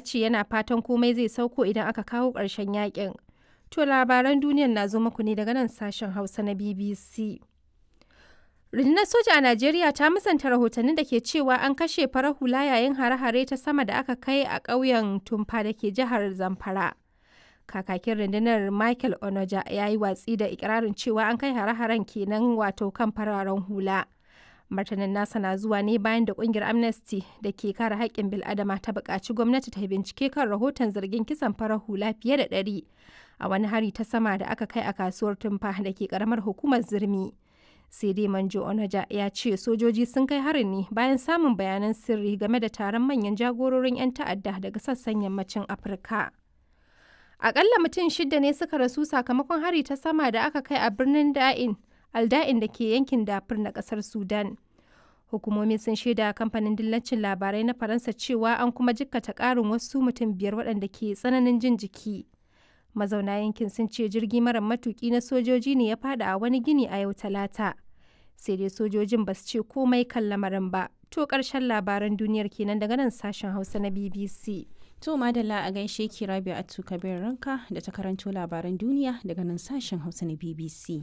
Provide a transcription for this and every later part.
ce yana fatan komai zai sauko idan aka kawo ƙarshen yakin. To labaran duniyar na zo muku ne daga nan sashen Hausa na BBC. Rundunar soja a Najeriya ta musanta rahotannin da ke cewa an kashe farar hula yayin hare-hare ta sama da aka kai a ƙauyen Tumfa da ke jihar Zamfara. Kakakin rundunar Michael Onoja ya yi watsi da ikirarin cewa an kai hare-haren kenan wato kan fararen hula. Martanin nasa na zuwa ne bayan da kungiyar Amnesty da ke kare haƙƙin bil'adama ta buƙaci gwamnati ta bincike kan rahoton zargin kisan farar hula fiye da 100 a wani hari ta sama da aka kai a kasuwar Tumfa da ke ƙaramar hukumar Zurmi. Sai dai Manjo Onaja ya ce sojoji sun kai harin ne bayan samun bayanan sirri game da taron manyan jagororin 'yan ta'adda daga sassan yammacin Afirka. Akalla mutum shidda ne suka rasu sakamakon hari ta sama da aka kai a birnin Da'in, Alda'in da ke yankin Dafur na kasar Sudan. Hukumomi sun shaida kamfanin dillacin labarai na Faransa cewa an kuma jikkata ƙarin wasu mutum biyar waɗanda ke tsananin jin jiki. Mazauna yankin sun ce jirgi mara matuki na sojoji ne ya fada a wani gini a yau Talata. Sai dai sojojin ba su ce komai kan lamarin ba. To ƙarshen labaran duniyar kenan daga nan sashen Hausa na BBC. To madalla a gaishe ki Rabia Atu Kabir Ranka da ta karanto labaran duniya daga nan sashen Hausa na BBC.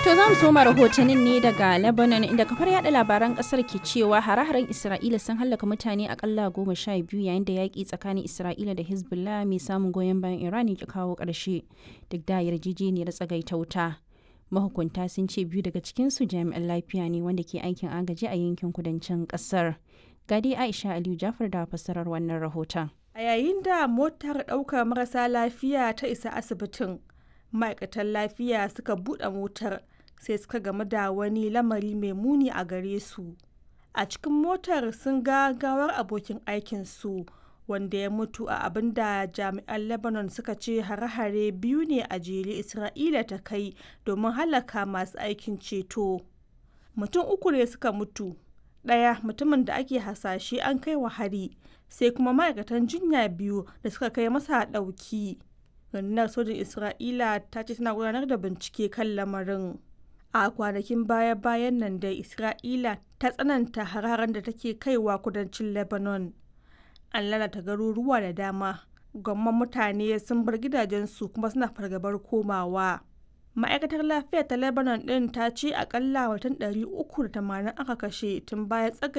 To za mu soma rahotannin ne daga Lebanon, inda kafar yada labaran kasar ke cewa hare-haren Isra'ila sun hallaka mutane akalla 12 yayin da yaƙi tsakanin Isra'ila da Hezbollah mai samun goyon bayan Iran ya kawo ƙarshe duk da yarjejeniyar tsagaita wuta. Mahukunta sun ce biyu daga cikinsu jami'an lafiya ne wanda ke aikin agaji a yankin kudancin kasar. Gadi Aisha Aliyu Jafar da fassarar wannan rahoton. A yayin da motar ɗaukar marasa lafiya ta isa asibitin, ma'aikatan lafiya suka buɗe motar sai suka gamu da wani lamari mai muni a gare su. A cikin motar sun ga gawar abokin aikinsu wanda ya mutu a abin da jami'an Lebanon suka ce hare-hare biyu ne a jere Isra'ila ta kai domin halaka masu aikin ceto. Mutum uku ne suka mutu, ɗaya mutumin da ake hasashe an kai wa hari, sai kuma ma'aikatan jinya biyu da suka kai masa ɗauki. Rundunar sojin Isra'ila ta ce tana gudanar da bincike kan lamarin. A kwanakin baya-bayan nan dai Isra'ila ta tsananta hare-haren da take kaiwa kudancin Lebanon. An lalata garuruwa da dama, gwamman mutane sun bar gidajensu kuma suna fargabar komawa. Ma'aikatar lafiya ta Lebanon ɗin ta ce akalla mutum 380 aka kashe tun bayan tsagaita